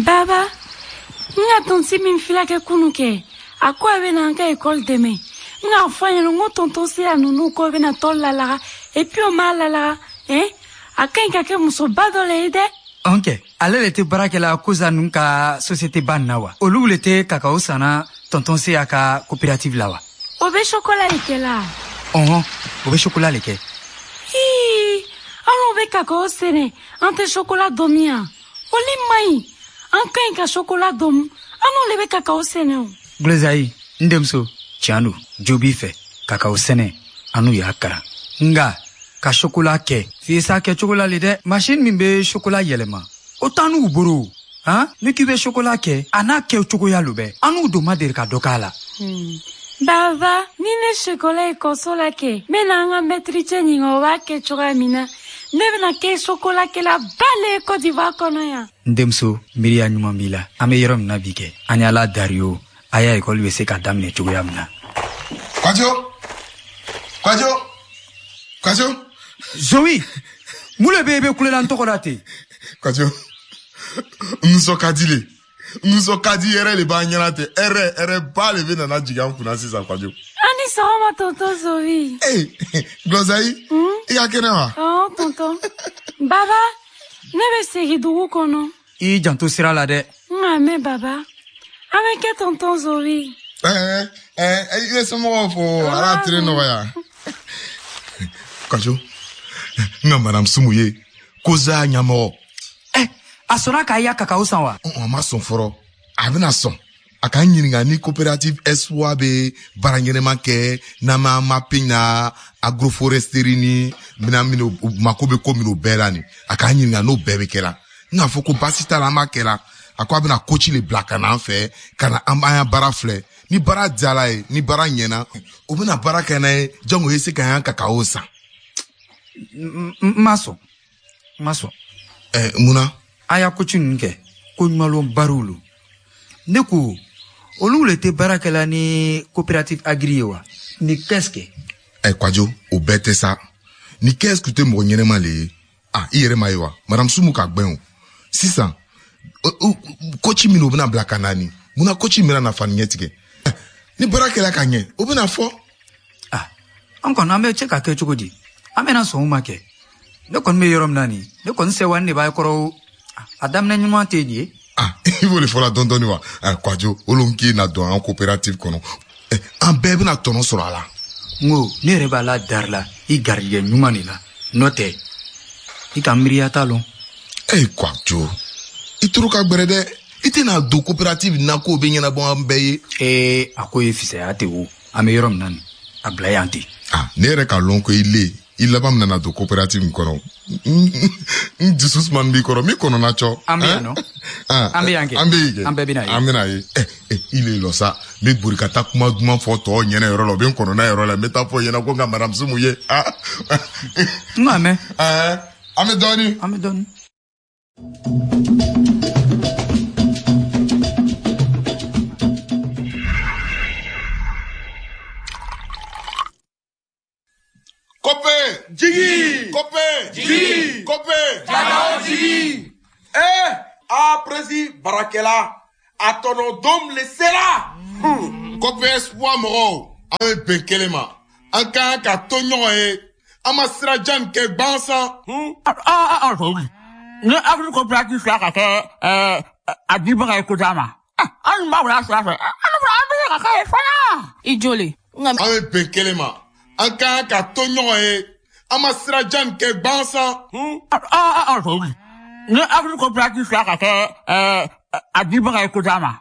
Baba, n ka tonti min fila kɛ kunu kɛ, a ko a bɛna an ka ekɔli dɛmɛ. N k'a fɔ a ɲɛna n ko tonton Seya ninnu ko bɛna tɔn lalaga, et puis o m'a lalaga, hein? A ka ɲi ka kɛ musoba dɔ le ye dɛ. Ɔn kɛ, ale le tɛ baara kɛla kosa ninnu ka société ba nin na wa? Olu le tɛ kakao sanna tonton Seya ka coopérative la wa? O bɛ chocolat le kɛ la. Ɔhɔn, o bɛ chocolat le kɛ. Hii, anw bɛ kakao sɛnɛ, an tɛ chocolat dɔn yan. O le man ɲi. An ka ɲi ka chocolat dɔn, an n'o le bɛ kakao sɛnɛ o. Glezayi, n denmuso, tiɲɛ don, jo b'i fɛ, kakao sɛnɛ, an n'u y'a karan. Nka, ka chocolat kɛ, f'i s'a kɛcogo la le dɛ. Machine min bɛ chocolat yɛlɛma, o t'an n'u boro. Han? Ni k'i bɛ chocolat kɛ, a n'a kɛcogoya lo bɛ. An n'u don ma deli ka dɔ k'a la. Baba, ni ne chocolat ekɔliso la kɛ, n bɛna an ka mɛtiri cɛ ɲininka o b'a kɛ cogoya min na. Ne bɛna kɛ chocolat ba le ye Côte d'Ivoire kɔnɔ yan. N denmuso, miiriya ɲuman b'i la. An bɛ yɔrɔ min na bi kɛ, an ye Ala dari o, a y'a ekɔli bɛ se ka daminɛ cogoya min na. Kwajo! Kwajo! Kwajo! Zoe, mun le bɛ yen i bɛ kulela n tɔgɔ la ten? Kwajo, n nisɔn ka di le. N nisɔn ka di yɛrɛ le b'an ɲɛna ten. Hɛrɛ, hɛrɛ ba le bɛ nana jigin an kunna sisan, Kwajo. An ni sɔgɔma, tonton Zoe. Ee, Gɔzayi, i ka kɛnɛ wa? Ɔn, tonton. Baba, ne bɛ segin dugu kɔnɔ. I y'i janto sira la dɛ. N k'a mɛn, baba. An bɛ kɛ tonton Zoe. Ɛɛ, ɛɛ, i bɛ somɔgɔw fo, Ala tile nɔgɔya. Kwajo, n ka madame Sumu ye, Koza ɲɛmɔgɔ. Ɛ, a sɔnna k'a ya kakao san wa? A ma sɔn fɔlɔ, a bɛna sɔn. A k'an ɲininka ni coopérative Espoir bɛ baara ɲɛnɛma kɛ n'an ma mapping na agroforesterie ni mina minnu mako bɛ ko minnu bɛɛ la nin. A k'an ɲininka n'o bɛɛ bɛ kɛla. N k'a fɔ ko baasi t'a la, an b'a kɛla. A ko a bɛna coach le bila ka na an fɛ, ka na an b'an ya baara filɛ. Ni baara diyara ye, ni baara ɲɛna, o bɛna baara kɛ n'a ye, jango ye se ka y'an kakao san. N ma sɔn, n ma sɔn. Ɛ, mun na? A y'a coach ninnu kɛ, ko ɲumanlɔn bariw lo. Ne ko, olu le tɛ baara kɛla ni coopérative agri ye wa? Ni qu'est-ce que? Ɛ, Kwajo, o bɛɛ tɛ sa. Ni qu'est-ce que tɛ mɔgɔ ɲɛnɛma le ye? Ah, i yɛrɛ ma ye wa? Madame Sumu ka gbɛn o. Sisan, coach minnu bɛna bila ka na nin, munna coach min bɛna na fani ɲɛ tigɛ? Ni baara kɛla ka ɲɛ, o bɛna fɔ. Ah, an kɔni an bɛ cɛ ka kɛ cogo di? An bɛna sɔn o ma kɛ. Ne kɔni bɛ yɔrɔ min na nin, ne kɔni sɛwa ne b'a kɔrɔ o. A daminɛ ɲuman tɛ nin ye. Ah, i b'o de fɔla dɔɔni dɔɔni wa? Ah, Kwajo, olu k'i na don an coopérative kɔnɔ. An bɛɛ bɛna tɔnɔ sɔrɔ a la. N ko, ne yɛrɛ b'a la dari la, i garijɛgɛ ɲuman de la. N'o tɛ, i ka miiriya t'a lɔn. Eh, Kwajo, i toro ka gbɛrɛ dɛ. I tɛna don coopérative na k'o bɛ ɲɛnabɔ an bɛɛ ye. Ee, a ko ye fisaya tɛ o. An bɛ yɔrɔ min na nin, a bila yan ten. Ah, ne yɛrɛ k'a lɔn ko i le, i laban bɛna na don coopérative in kɔnɔ. N dusu sumani b'i kɔrɔ, min kɔnɔna cɔ. An bɛ yan nɔ. An bɛ yan kɛ. An bɛ yen kɛ. An bɛɛ bɛna ye. An bɛna ye. Ɛ, i le lɔ sa, n bɛ bori ka taa kuma duman fɔ tɔw ɲɛna yɔrɔ la, o bɛ n kɔnɔna yɔrɔ la, n bɛ taa fɔ ɲɛna ko n ka madame Sumu ye. Ah. N k'a mɛn. Ɛɛ, an bɛ dɔɔnin. An bɛ dɔɔnin. Kope! Jigi! Kope! Jigi! Kope! Kakao jigi! Eh! A presi barakɛla, a tɔnɔ dom le sera! Kope Espoir mɔgɔw, an bɛ bɛn kelen ma. An ka kan ka to ɲɔgɔn ye. An ma sira jan nin kɛ gansan. Ni agri coopérative sera ka kɛ a dibaga ye ko ma. An b'a wula sira fɛ. An fana an bɛ se ka kɛ ye fana. I joli. An bɛ bɛn kelen ma. An ka kan ka to ɲɔgɔn ye. An ma sira jan nin kɛ gansan. Ni agri coopérative sera ka kɛ a dibaga ye ko ma.